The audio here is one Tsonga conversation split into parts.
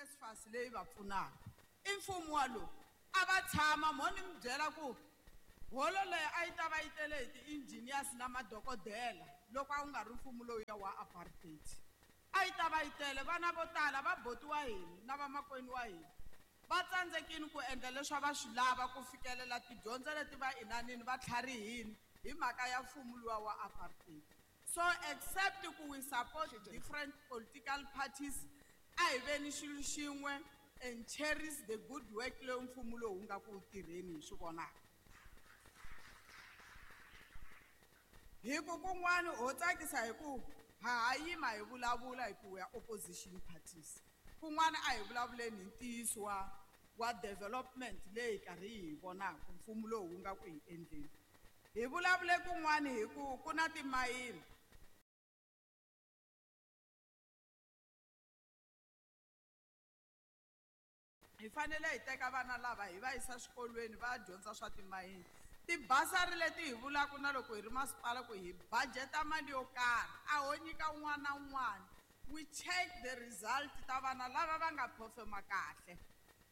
NSFAS leyi va pfunaka. I mfumo wa lowu a va tshama mo ni mi byela ku holo leyi a yi ta va yi tele hi ti-engineers na madokodela loko a wu nga ri mfumo lowuya wa apartheid. A yi ta va yi tele, vana vo tala va boti wa hina na vamakwenu wa hina va tsandzekile ku endla leswi a va swi lava ku fikelela tidyondzo leti va inanini va tlharihini hi mhaka ya mfumo luwa wa apartheid. So except ku we support different political parties, a hi veni xilo xin'we and cherish the good work lowu mfumo lowu wu nga ku tirheni hi swi vonaka. Hi ku kun'wani ho tsakisa hi ku ha ha yima hi vulavula hi ku we are opposition parties. Kun'wana a hi vulavuleni hi ntiyiso wa development leyi karhi hi vonaka mfumo lowu wu nga ku hi endleni. Hi vulavule kun'wani hi ku ku na timayini. Hi fanele hi teka vana lava hi va yisa swikolweni va ya dyondza swa timayini. Tibasari leti hi vulaka na loko hi ri masipala ku hi budgeta mali yo karhi, a ho nyika un'wana na un'wana. We check the result ta vana lava va nga performa kahle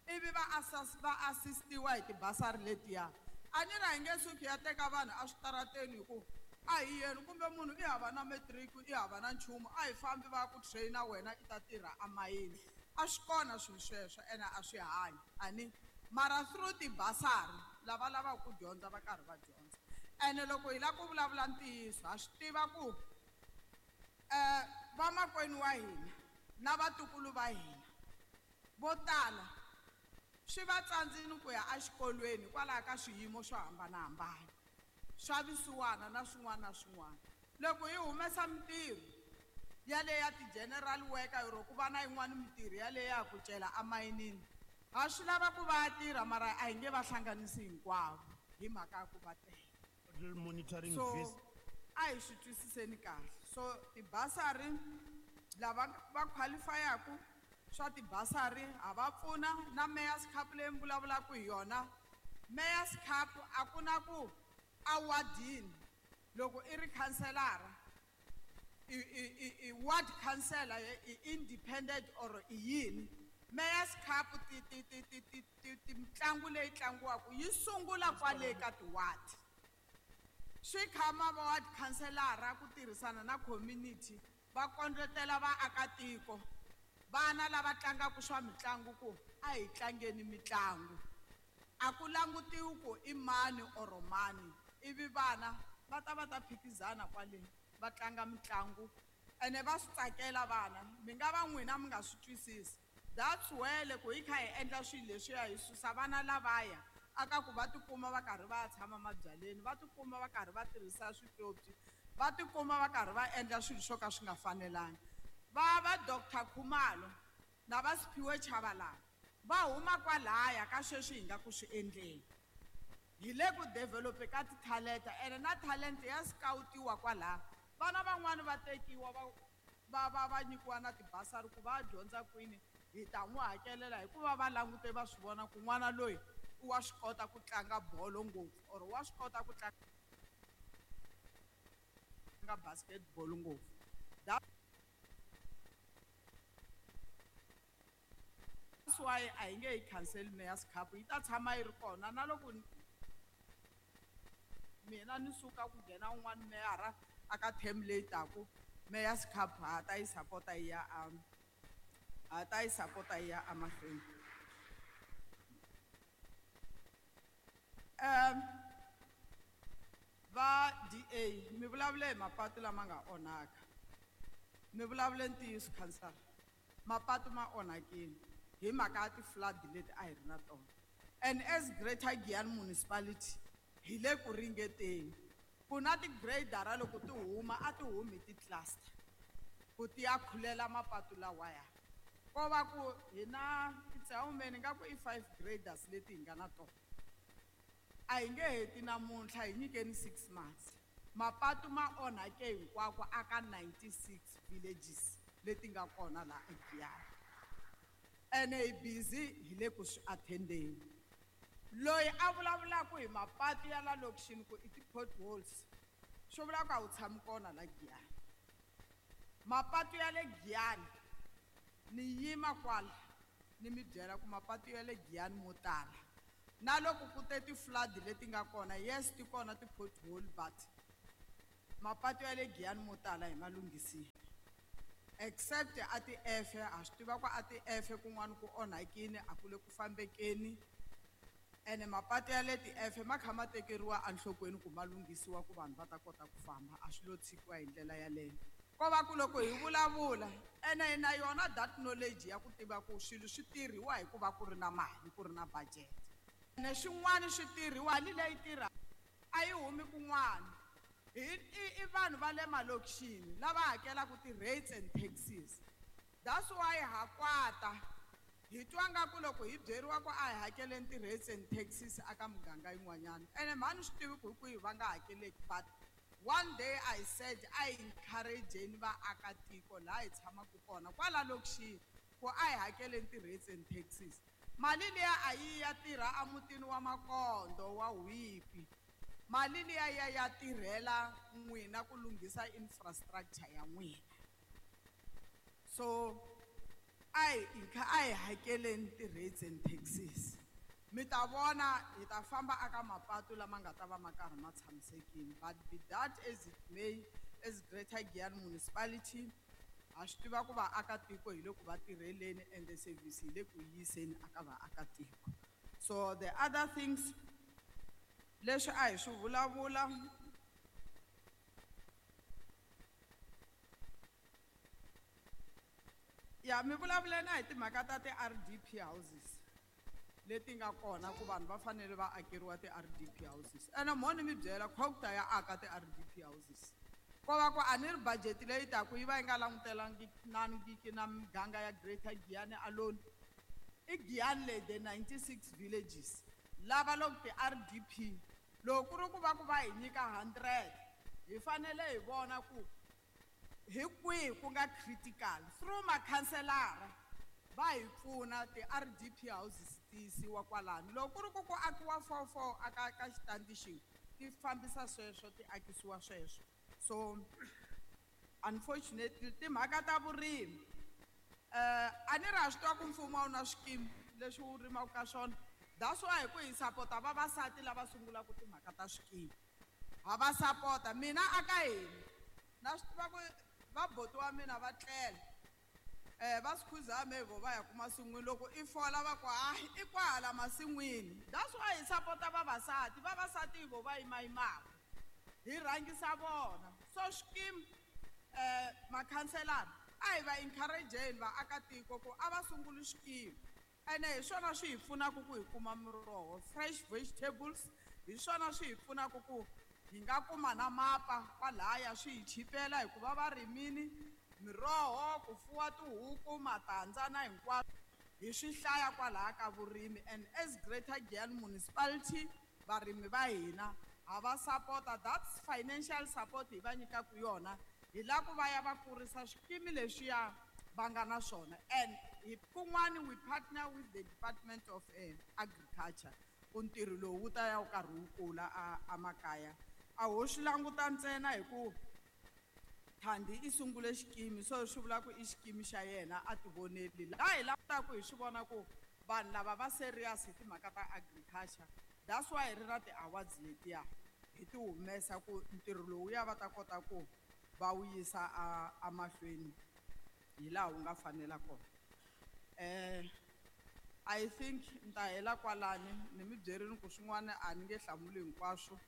ivi va assistiwa hi tibasari letiya. A ni ri a hi nge suki ya teka vanhu eswitarateni hi ku a hi yeni, kumbe munhu i hava na matric, i hava na nchumu, a hi fambi va ya ku train-a wena i ta tirha emayini. A swi kona swilo sweswo ene a swi hanyi a ni, mara through tibasari lava lavaka ku dyondza va karhi va dyondza. Ene loko hi lava ku vulavula ntiyiso ha swi tiva ku vamakwenu wa hina na vatukulu va hina vo tala swi va tsandzile ku ya exikolweni hikwalaho ka swiyimo swo hambanahambana swa vusiwana na swin'wana na swin'wana. Loko hi humesa mintirho yaleyo ya ti-general worker or ku va na yin'wana mintirho yaleyo ya ku cela emayinini, ha swi lava ku va ya tirha mara a hi nge va hlanganisi hinkwavo hi mhaka ya ku va tele. Monitoring So vis- a hi swi twisiseni kahle. So tibasari lava va qualifyaku swa tibasari ha va pfuna na Mayor's Cup leyi mi vulavulaka hi yona. Mayor's Cup a ku na ku awadini loko i ri khanselara i ward councillor i independent or i yini. Mayor's Cup mitlangu leyi tlangiwaka yi sungula kwale ka ti-ward. Swi khama va ward councillor ku tirhisana na community va kondletela vaakatiko vana lava tlangaka swa mitlangu ku a hi tlangeni mitlangu. A ku langutiwi ku i mani or mani, ivi vana va ta va ta phikizana kwale va tlanga mitlangu ene va swi tsakela vana. Mi nga va n'wina mi nga swi twisisi. That's where loko hi kha hi endla swilo leswiya hi susa vana lavaya aka ku va tikuma va karhi va tshama mabyaleni, va tikuma va karhi va tirhisa swipyopyi, va tikuma va karhi va endla swilo swo ka swi nga fanelangi. Va va Doctor Khumalo na va Siphiwe Tshabalala va huma kwalaya ka sweswi hi nga ku swi endleni. Hi le ku develop-e ka ti-talent, ene na talent ya scout-iwa kwalaya. Vana van'wani va tekiwa va nyikiwa na tibasari ku va dyondza kwini, hi ta n'wi hakelela hikuva va langute va swi vona ku n'wana loyi wa swi kota ku tlanga bolo ngopfu or wa swi kota ku tlanga basketball ngopfu. That's why a hi nge yi cancel Mayor's Cup, yi ta tshama yi ri kona na loko mina ni suka ku nghena un'wana meyara aka term leyi taku, Mayor's Cup ha ta yi support-a yi ya a, ha ta yi support-a yi ya emahlweni. Va DA mi vulavule hi mapatu lama nga onhaka, mi vulavule ntiyiso khansara, mapatu ma onhakile hi mhaka ya ti-flood leti a hi ri na tona. And as Greater Giyani Municipality hi le ku ringeteni ku na ti-grader loko ti huma a ti humi ti-cluster ku ti ya khulela mapatu lawaya. Ko va ku hi na it's how many nga ku i 5 graders leti hi nga na tona. A hi nge heti namuntlha, hi nyikeni 6 months. Mapatu ma onhake hinkwako aka 96 villages leti nga kona laha eGiyani. Ene hi busy hi le ku swi attendeni. Loyi a vulavulaka hi mapatu ya la lokixini ku i ti-potholes, swi vula ku a wu tshami kona la Giyani. Mapatu ya le Giyani ni yima kwala Ni mi byela ku mapatu ya le Giyani mo tala na loko ku te ti-flood leti nga kona, yes, ti kona ti-pothole, but mapatu ya le Giyani mo tala hi ma lunghisile except a ti-F. Ha swi tiva ku a ti-F kun'wana ku onhakini, a ku le ku fambekeni, ene mapatu ya le ti-F ma kha ma tekeriwa enhlokweni ku ma lunghisiwa ku vanhu va ta kota ku famba. A swi lo tshikiwa hi ndlela yaleyo, ko va ku loko hi vulavula ene hi na yona that knowledge ya ku tiva ku swilo swi tirhiwa hi ku va ku ri na mali, ku ri na budget, ene swin'wana swi tirhiwa mali leyi tirha a yi humi kun'wana, hi i vanhu va le malokixini lava hakelaka ti-rates and taxes. That's why ha kwata hi twa nga ku loko hi byeriwa ku a hi hakeleni ti-rates and taxes aka muganga yin'wanyana, ene mhani swi tivi ku hi kwihi va nga hakeleki. But one day I said a hi encourageni vaakatiko laha hi tshamaka kona kwala lokixini ku a hi hakeleni ti-rates and taxes. Mali liya a yi ya tirha emutini wa Makondo wa Whipi, mali liya ya tirhela n'wina ku lunghisa infrastructure ya n'wina. So a hi hakeleni ti-rates and taxes, mi ta vona hi ta famba aka mapatu lama nga ta va ma karhi ma tshamisekile. But be that as it may, as Greater Giyani Municipality ha swi tiva ku vaakatiko hi le ku va tirheleni, ende service hi le ku yiseni aka vaakatiko. So the other things leswi a hi swi vulavula, ya mi vulavule na hi timhaka ta ti-RDP houses leti nga kona, ku vanhu va fanele va akeriwa ti-RDP houses. Ene mhoni mi byela COGTA ya aka ti-RDP houses, ko va ku a ni ri budget leyi taku yi va yi nga langutelangiki na miganga ya Greater Giyani alone. I Giyani leyi, the 96 villages lava loko ti-RDP, loko ku ri ku va ku va hi nyika 100, hi fanele hi vona ku hi kwihi ku nga critical. Through makhanselara va hi pfuna, ti-RDP houses ti yisiwa kwalano. Loko ku ri ku ku akiwa four four aka ka xitandi xin'we, ti fambisa sweswo, ti akisiwa sweswo. So unfortunately timhaka ta vurimi, a ni ri ha swi tiva ku mfumo a wu na swikimi leswi wu rimaka ka swona. That's why hi ku hi sapota vavasati lava sungulaka timhaka ta swikimi, ha va sapota. Mina aka hina na swi tiva ku vaboti wa mina va tlela, va swi khuza vo va ya ku masin'wini, loko i fola va ku hayi, i kwahala masin'wini. That's why hi sapota vavasati. Vavasati vo va yimayimaka, hi rhangisa vona. So swikimi, makhanselara a hi va encourageni vaakatiko ku a va sunguli swikimi, ene hi swona swi hi pfunaka ku hi kuma miroho, fresh vegetables. Hi swona swi hi pfunaka ku hi nga kuma na mapa kwalaya, swi hi chipela hikuva va rimini miroho, ku fuwa tihuku, matandza na hinkwaswo hi swi hlaya kwalaya ka vurimi. And as Greater Giyani Municipality, varimi va hina ha va sapota. That's financial support hi va nyikaka yona, hi lava ku va ya va kurisa swikimi leswiya va nga na swona. And hi kun'wani we partner with the Department of Agriculture ku ntirho lowu wu ta ya wu karhi wu kula a makaya. A ho swi languta ntsena hi ku Thandi i sungule xikimi, so swi vula ku i xikimi xa yena, a ti voneli. Laha hi langutaka hi swi vona ku vanhu lava va serious hi timhaka ta agriculture. That's why hi ri na ti-awards letiya, hi ti humesa ku ntirho lowuya va ta kota ku va wu yisa a amahlweni hi laha wu nga fanela kona. I think ni ta hela kwalani. Ni mi byerini ku swin'wana a ni nge hlamuli hinkwaswo.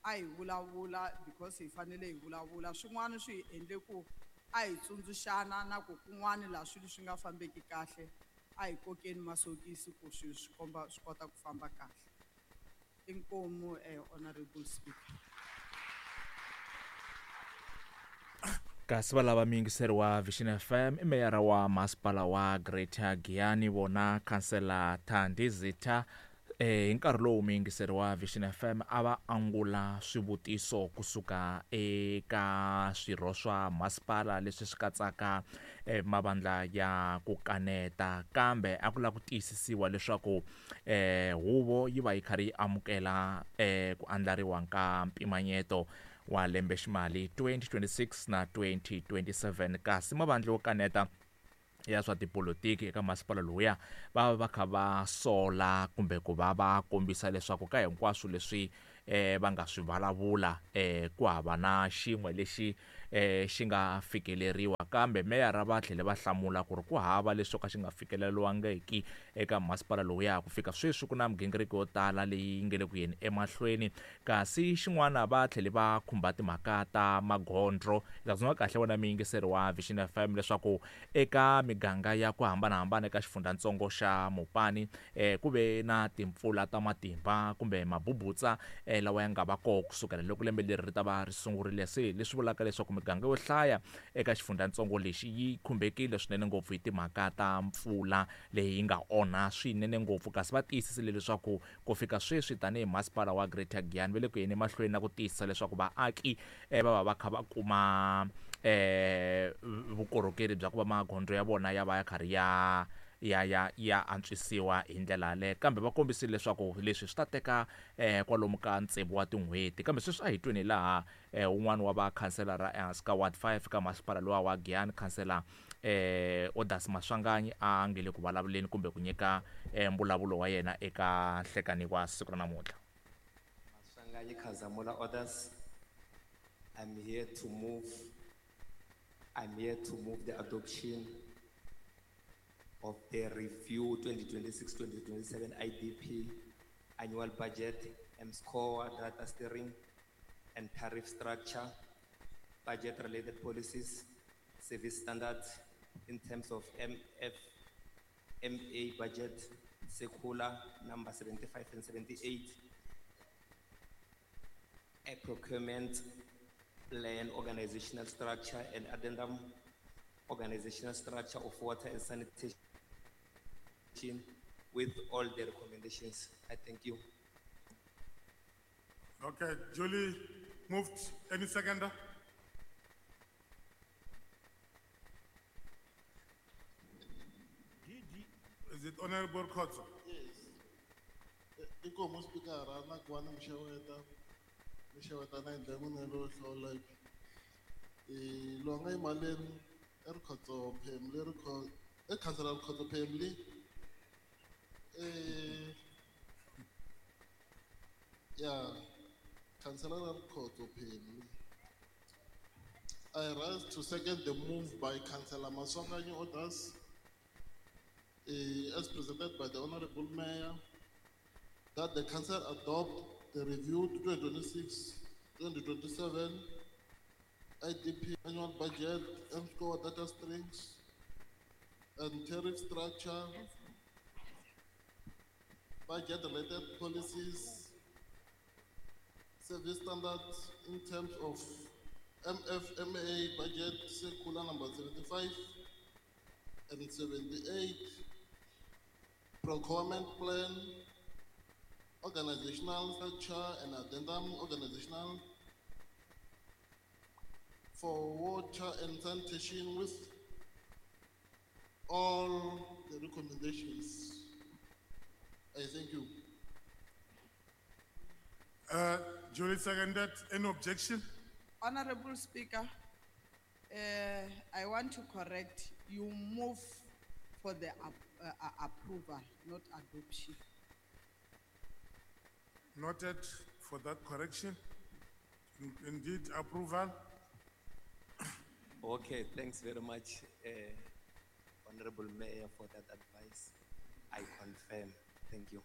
A hi vulavula because hi fanele hi vulavula. Swin'wana swi hi endle ku a hi tsundzuxana na ku kun'wana laha swilo swi nga fambeki kahle, a hi kokeni masokisi ku swilo swi komba swi kota ku famba kahle. Inkomu, honorable speaker. Kasi va lava muyingiseri wa Vision FM, i meyara wa masipala wa Greater Giyani, vona khansela Thandi Zitha. Hi nkarhi lowu muyingiseri wa Vision FM a va angula swivutiso kusuka eka swirho swa masipala leswi swi katsaka mavandla ya ku kaneta, kambe a ku lava ku tiyisisiwa leswaku huvo yi va yi karhi yi amukela ku andlariwa ka mpimanyeto wa lembe ximali 2026 na 2027, kasi mavandla yo kaneta ya swa tipolotiki eka masipala lowuya va va kha va sola kumbe ku va va kombisa leswaku ka hinkwaswo leswi va nga swi vulavula ku hava na xin'we lexi xi nga fikeleriwa kambe meyara va tlhele va hlamula ku ri ku hava leswo ka xi nga fikeleriwangiki eka masipala lowuya ku fika sweswi ku na migingiriko yo tala leyi nge le ku yeni emahlweni kasi xin'wana va tlhele va khumba timhaka ta magondzo hi ta tsundzuka kahle wena muyingiseri wa Vision FM leswaku eka miganga ya ku hambanahambana eka xifundzhantsongo xa Mopani ku ve na timpfula ta matimba kumbe mabubutsa lawa ya nga va koho kusukela loko lembe leri ri ta va ri sungurile se leswi vulaka leswaku miganga yo hlaya eka xifundzhantsongo lexi yi khumbekile swinene ngopfu hi timhaka ta mpfula leyi nga onha swinene ngopfu kasi va tiyisisile leswaku ku fika sweswi tanihi masipala wa Greater Giyani va le ku yeni emahlweni na ku tiyisisa leswaku vaaki va va va kha va kuma vukorhokeri bya ku va magondzo ya vona ya va ya karhi ya ya ya ya antswisiwa hi ndlela yaleyo kambe va kombisile leswaku leswi swi ta teka kwalomu ka tsevu wa tin'hweti kambe sweswi a hi tweni laha un'wana wa vakhanselara ehansi ka ward 5 ka masipala lowa wa Giyani khansela Odas Maswanganyi a nge le ku vulavuleni kumbe ku nyika mbulavulo wa yena eka nhlekani wa siku ra namuntlha. Maswanganyi Khazamula Odas, I'm here to move the adoption of the review 2026-2027 IDP annual budget, mSCOA data steering and tariff structure, budget-related policies, service standards in terms of MFMA budget, circular number 75 and 78, a procurement plan, organizational structure and addendum, organizational structure of water and sanitation with all the recommendations. I thank you. Okay, Julie moved. Any seconder? Is it Honorable Khotso? Yes. Inkomo Speaker, na kuwana mshaweta. Mshaweta na indlela lo hlola. Longa imaleni Rikhotso Phemli Rikhotso Councillor Rikhotso Phemli. Yeah, Councillor Rikhotso Phemli. I rise to second the move by Councillor Maswanganyi Odas, as presented by the Honorable Mayor, that the Council adopt the review 2026-2027 IDP annual budget, mSCOA data strings, and tariff structure, budget-related policies, service standards in terms of MFMA budget circular number 75 and 78, procurement plan, organizational structure and addendum organizational for water and sanitation with all the recommendations. I thank you. Julie seconded. Any objection? Honorable Speaker, I want to correct. You move for the approval, not adoption. Noted for that correction. Indeed, approval. Okay, thanks very much, Honorable Mayor, for that advice. I confirm. Thank you.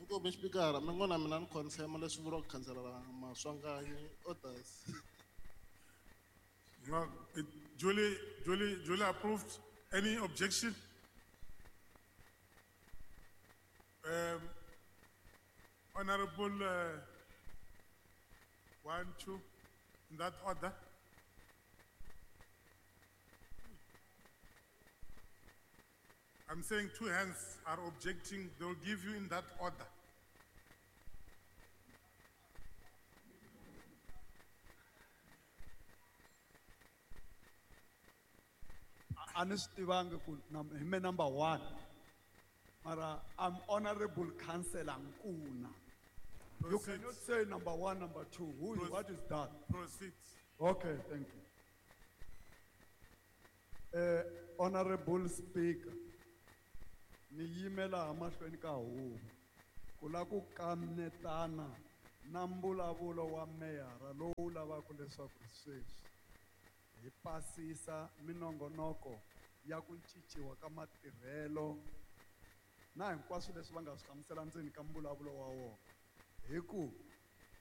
Inkomo Speaker, mengona mina ni confirm leswi vuriwaka Councillor Maswanganyi Odas. No, Julie approved. Any objection? Honorable 1, 2, in that order. I'm saying two hands are objecting. They'll give you in that order. Number one. Mara, I'm Honorable Councillor Nkuna. You Proceed. cannot say number one, number two. Who is, Proceed. what is that? Proceed. Okay, thank you. Honorable Speaker, ni yimela mahlweni ka huvo ku la ku kanetana na mbulavulo wa meyara lowu lavaka leswaku sweswi hi pasisa minongonoko ya ku cinciwa ka matirhelo na hinkwaswo leswi va nga swi hlamusela ndzeni ka mbulavulo wa wona. Hi ku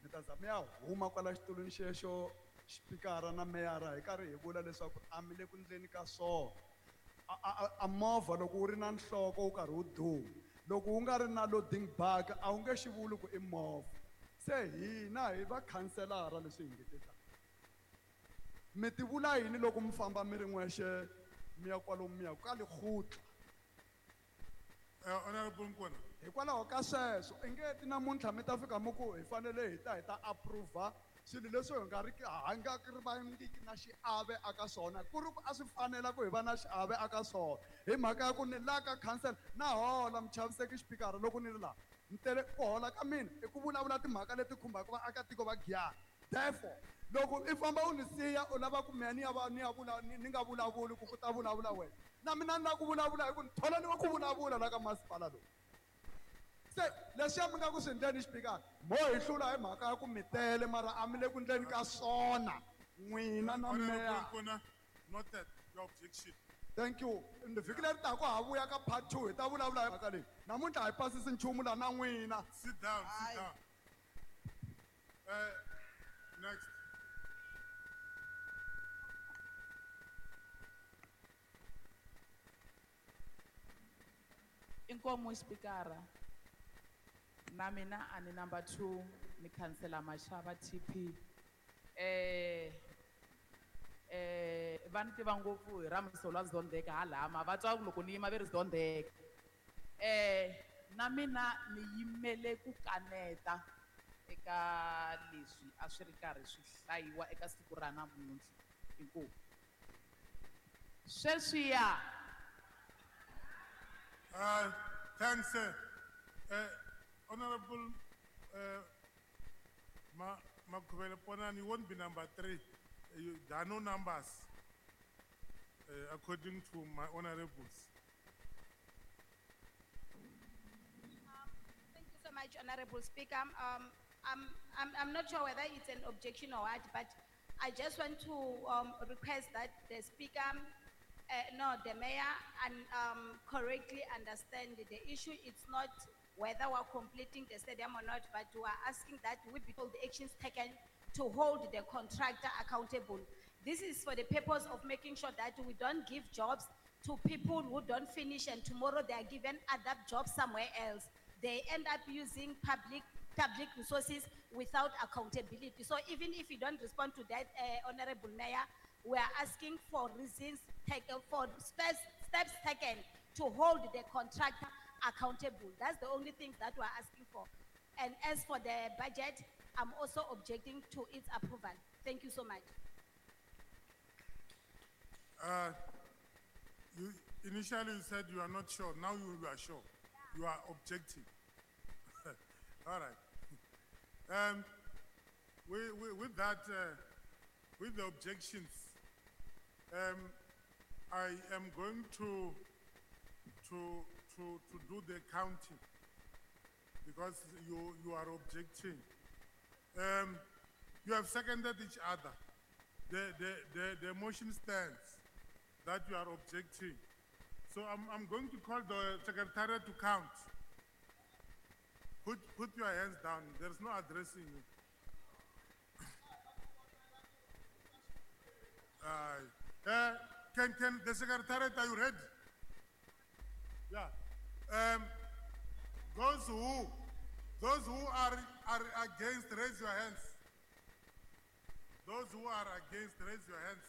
mi ta za mi ya huma kwala xitulwini xexo xipikara na meyara hi karhi hi vula leswaku a mi le ku ndleni ka swona. A movha loko wu ri na nhloko wu karhi wu duma, loko wu nga ri na loading bag a wu nge xi vuli ku i movha. Se hina hi va khanselara leswi hi ngetetaka. Mi ti vula yini loko mi famba mi ri n'wexe mi ya kwalomu mi ya ka lekgotla? Honorable Nkuna. Hikwalaho ka sweswo i nge ti namuntlha mi ta fika mi ku hi fanele hi ta hi ta approve swilo leswi hi nga ri ki ha nga ri vangiki na xiave aka swona, ku ri ku a swi fanela ku hi va na xiave aka swona. Hi mhaka ya ku ni la ka council na hola muchaviseki xipikara loko ni ri laha ni tele ku hola ka mina i ku vulavula timhaka leti khumbaka vaakatiko va Giyani. Therefore loko i famba u ni siya u lava ku mehe ni ya va ni ya vula ni nga vulavuli ku ku ta vulavula wena, na mina ni lava ku vulavula hi ku ni tholeriwe ku vulavula la ka masipala lowu. Se leswiya mi nga ku swi ndleni xipikara mo hi hlula hi mhaka ya ku mi tele mara a mi le ku ndleni ka swona n'wina na meya. Noted your objection. Thank you. Vhiki leri taka ha vuya ka part 2 hi ta vulavula hi mhaka leyi. Namuntlha hi pasisi nchumu la na n'wina. Sit down, sit down. Next. Inkomo xipikara. Na mina a ni number 2 ni khansela Mashava TP. Va ni tiva ngopfu hi ra Msolwa Zondeka halama va twa loko ni yima ve ri Zondeka. Na mina ni yimele ku kaneta eka leswi a swi ri karhi swi hlayiwa eka siku ra namuntlha. Inkomu. Sweswiya. Thanks, sir. Honorable Makhuvele Ponani, you won't be number 3. There are no numbers, according to my honorables. Thank you so much, Honorable Speaker. I'm not sure whether it's an objection or what, but I just want to request that the Speaker, no, the Mayor, and correctly understand the issue. It's not whether we're completing the stadium or not, but we are asking that we be told the actions taken to hold the contractor accountable. This is for the purpose of making sure that we don't give jobs to people who don't finish and tomorrow they are given other jobs somewhere else. They end up using public resources without accountability. So even if you don't respond to that, Honorable Mayor, we are asking for reasons taken, for steps taken to hold the contractor accountable. That's the only thing that we're asking for. And as for the budget, I'm also objecting to its approval. Thank you so much. You initially you said you are not sure. Now you are sure. You are objecting. All right. With that, with the objections, I am going to do the counting because you are objecting. You have seconded each other. The motion stands that you are objecting. So I'm going to call the secretariat to count. Put your hands down. There's no addressing you. Can the secretariat, are you ready? Yeah. Those who are against, raise your hands. Those who are against, raise your hands.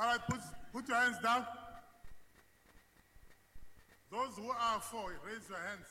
All right, put your hands down. Those who are for, raise your hands.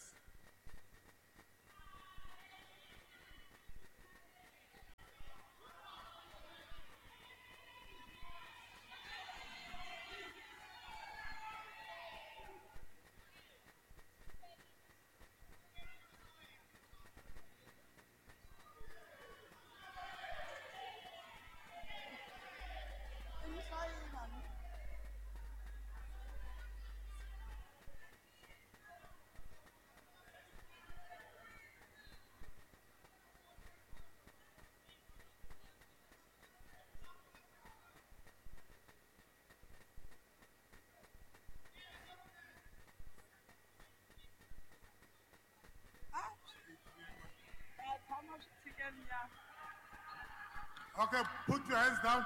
Okay, put your hands down.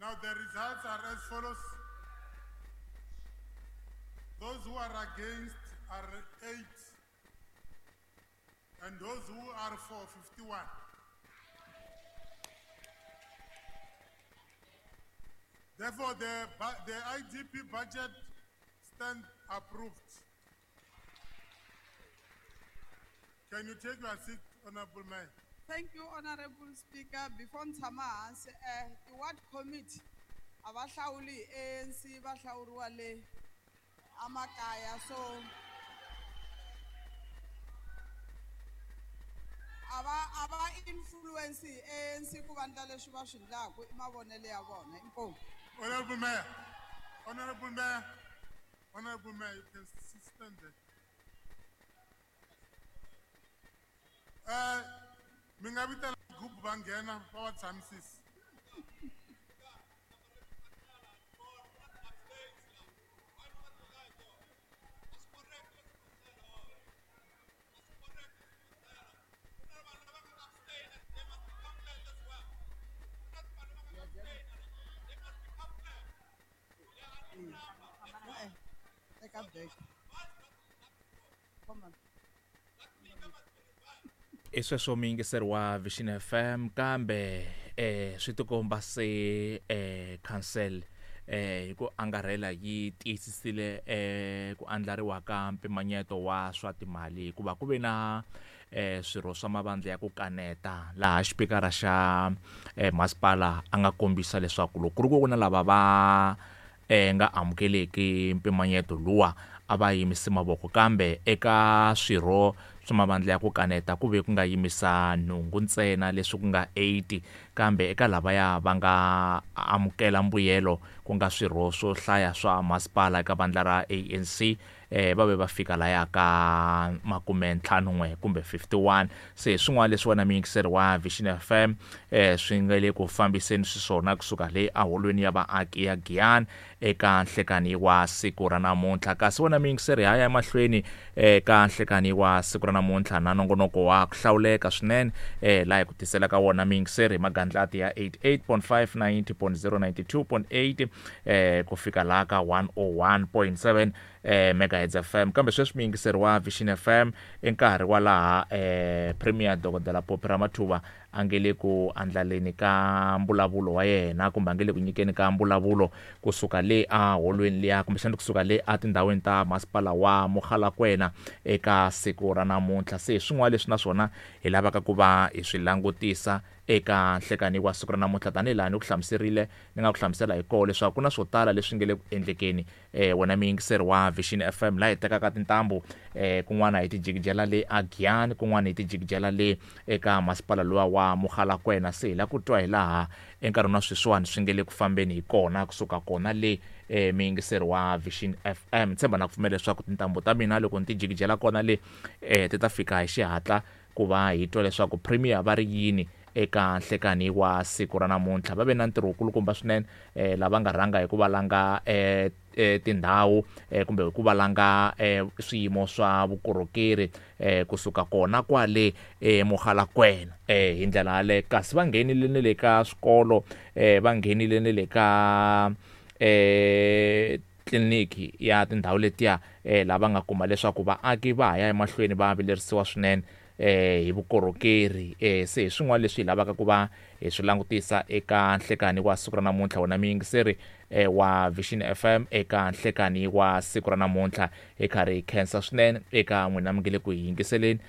Now the results are as follows. Those who are against are 8, and those who are for 51. Therefore, the IDP budget stands approved. Can you take your seat, Honorable Mayor? Thank you, Honorable Speaker. Before ntshama hansi, the ward committee a va hlawuli ANC, va hlawuriwa le amakaya, so a va influence ANC ku va ndla leswi va swi ndlaku, i mavonelo ya vona. Inkomu. Honorable Mayor, Honorable Mayor, Honorable Mayor, you can stand there. Mi nga vitana group va nghena va va tshamisisa. Teka break. Come on. I sweswo muyingiseri wa Vision FM, kambe swi tikomba se council hi ku angarhela yi tiyisisile ku andlariwa ka mpimanyeto wa swa timali, hikuva ku ve na swirho swa mavandla ya ku kaneta laha xipikara xa masipala a nga kombisa leswaku loko ku ri ku na lava va nga amukeleki mpimanyeto luwa a va yimisi mavoko, kambe eka swirho swa mavandla ya ku kaneta ku ve ku nga yimisa nhungu ntsena, leswi ku nga 80, kambe eka lavaya va nga amukela mbuyelo ku nga swirho swo hlaya swa masipala eka vandla ra ANC, va ve va fika laya ka 51 kumbe 51. Se swin'wana leswi wena muyingiseri wa Vision FM swi nga le ku fambiseni swiswona kusuka le aholweni ya vaaki ya Giyani eka nhlekani wa siku ra namuntlha. Kasi wena muyingiseri ha ya emahlweni eka nhlekani wa siku ra namuntlha na nongonoko wa ku hlawuleka swinene laha hi ku tisela ka wona muyingiseri hi magandlati ya 88.5, 90.0, 92.8 ku fika laha ka 101.7 megahertz FM. Kambe sweswi muyingiseri wa Vision FM i nkarhi wa laha Premier Dokodela Phophi Ramathuba a nge le ku andlaleni ka mbulavulo wa yena, kumbe a nge le ku nyikeni ka mbulavulo kusuka le a holweni liya, kumbexana kusuka le a tindhawini ta masipala wa Mogalakwena eka siku ra namuntlha. Se swin'wana leswi naswona hi lavaka ku va hi swi langutisa eka nhlekani wa siku ra namuntlha, tanihi laha ni ku hlamuserile, ni nga ku hlamusela hi koho leswaku ku na swo tala leswi nge le ku endlekeni. Wena muyingiseri wa Vision FM, laha hi tekaka tintambu kun'wana hi tijikijela le a Giyani, kun'wana hi tijikijela le eka masipala luwa wa Mogalakwena. Se hi la ku twa hi laha enkarhini wa sweswiwani swi nge le ku fambeni hi kona kusuka kona le muyingiseri wa Vision FM. Tshemba na ku pfumela leswaku tintambu ta mina loko ni tijikijela kona le ti ta fika hi xihatla ku va hi twa leswaku Premier va ri yini eka nhlekani wa siku ra namuntlha. Va ve na ntirho wukulukumba swinene lava nga rhanga hi ku valanga tindhawu kumbe hi ku valanga swiyimo swa vukorhokeri kusuka kona kwale Mogalakwena hi ndlela yaleyo. Kasi va nghenile ne le ka swikolo, va nghenile ne le ka tliliniki ya tindhawu letiya, lava nga kuma leswaku vaaki va ha ya emahlweni va vilerisiwa swinene hi vukorhokeri. Se hi swin'wana leswi hi lavaka ku va hi swi langutisa eka nhlekani wa siku ra namuntlha. Wena muyingiseri wa Vision FM, eka nhlekani wa siku ra namuntlha hi karhi hi khensa swinene eka n'wina mi nge le ku hi yingiseleni.